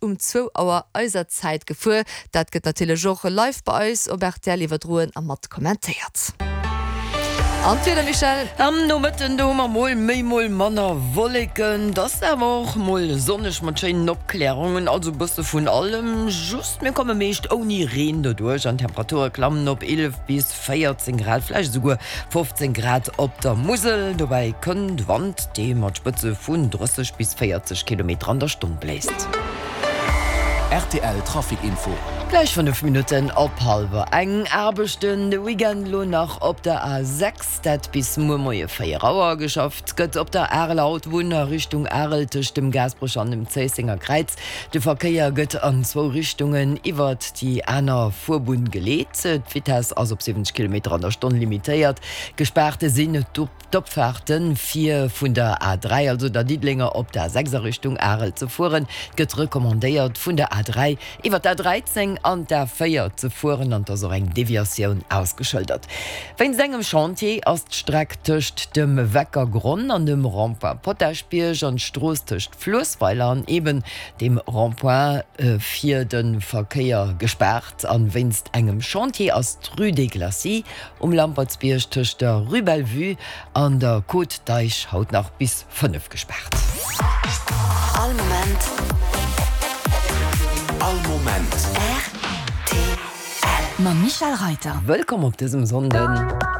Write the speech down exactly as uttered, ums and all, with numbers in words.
um zwou Auer eiser Zäit gefuer. Dat gëtt natierlech och live bei eis op R T L iwwerdroen a mat kommentéiert. An d'Wieder, Michèle? Am Nomëtten do hu mer mol méi mol manner Wolleken, et ass awer och mol sonneg mat schéinen Opklärungen, also bësse vun allem. Just mir komme meescht ouni Reen doduerch an d'Temperature klammen op eelef bis véierzéng Grad, vläicht esouguer fofzéng Grad op der Musel. Dobäi kënnt Wand, dee mat Spëtze vun drësseg bis véierzeg Kilometer an der Stonn bléist. R T L Trafic Info. Gläich fënnef Minutten op hallwer eng. Aarbechten de Weekend lo nach op der A sechs, dat bis muer Moie véier Auer. Geschafft gëtt op der Areler Autobunn a Richtung Arel tëscht dem Gaasperech an dem Zéissenger Kräiz. De Verkéier gëtt an zwou Richtungen iwwert déi aner Fuerbunn geleet. D'Vitess ass op siwwenzeg Kilometer an der Stonn limitéiert. Gespaart sinn d'Opfaarte fir vun der A dräi, also der Diddelenger, op d'A sechs a Richtung Arel ze fueren. Et gëtt recommandéiert vun der A dräi iwwer d'A dräizéng an d'A véier ze fueren an et ass och eng Deviatioun ausgeschëldert. Wéinst engem Chantier ass d'Streck tëscht dem Weckergronn an dem Rond-point Potaschbierg an d'Strooss tëscht Fluessweiler an eben dem Rond-point fir de Verkéier gespaart. An wéinst engem Chantier ass d'Rue des Glacis um Lampertsbierg tëscht der Rue Bellevue an der Côte d'Eich haut nach bis fënnef gespaart. All Moment. All Moment. R T L. Mam Michèle Reiter. Wëllkomm op dësem Sonnden.